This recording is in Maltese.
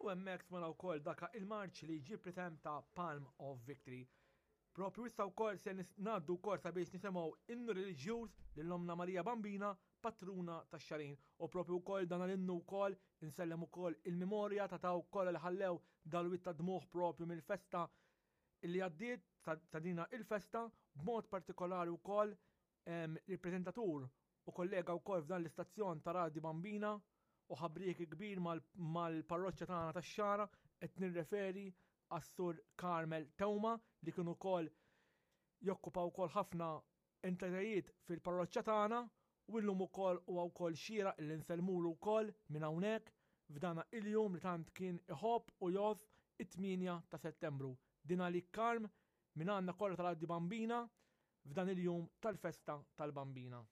U hemmhekk smajna wkoll daka il-marċ li jġib l-isem ta' Palm of Victory. Propju issa wkoll se ngħaddu wkoll sabiex nisimgħu innu reliġjuż lil Ommna Marija Bambina, patruna tax-Xagħrin. U propju wkoll dan l-innu wkoll insellem ukoll il-memorja ta' dawk kollha li ħallew dal-wied ta' dmugħ propju mill-festa li għaddiet ta' dina il-festa, b'mod partikolari wkoll il-preżentatur u kollega wkoll f'dan l-istazzjon ta' Radju Bambina u ħabrieki kbir mal-parroċċa tagħna tax-Xagħra, qed nirreferi għas-Sur Carmel Teuma li kien ukoll jokkupa wkoll ħafna entitajiet fil-parroċċa tagħna u llum ukoll huwa wkoll xieraq li nsellmulu wkoll minn hawnhekk f'dana il-jum li tant kien iħobb u jgħożż it-8 ta' Settembru. Din għalik Carm minn għandna kollha ta' Radju Bambina f'dan il-jum tal-festa tal-Bambina.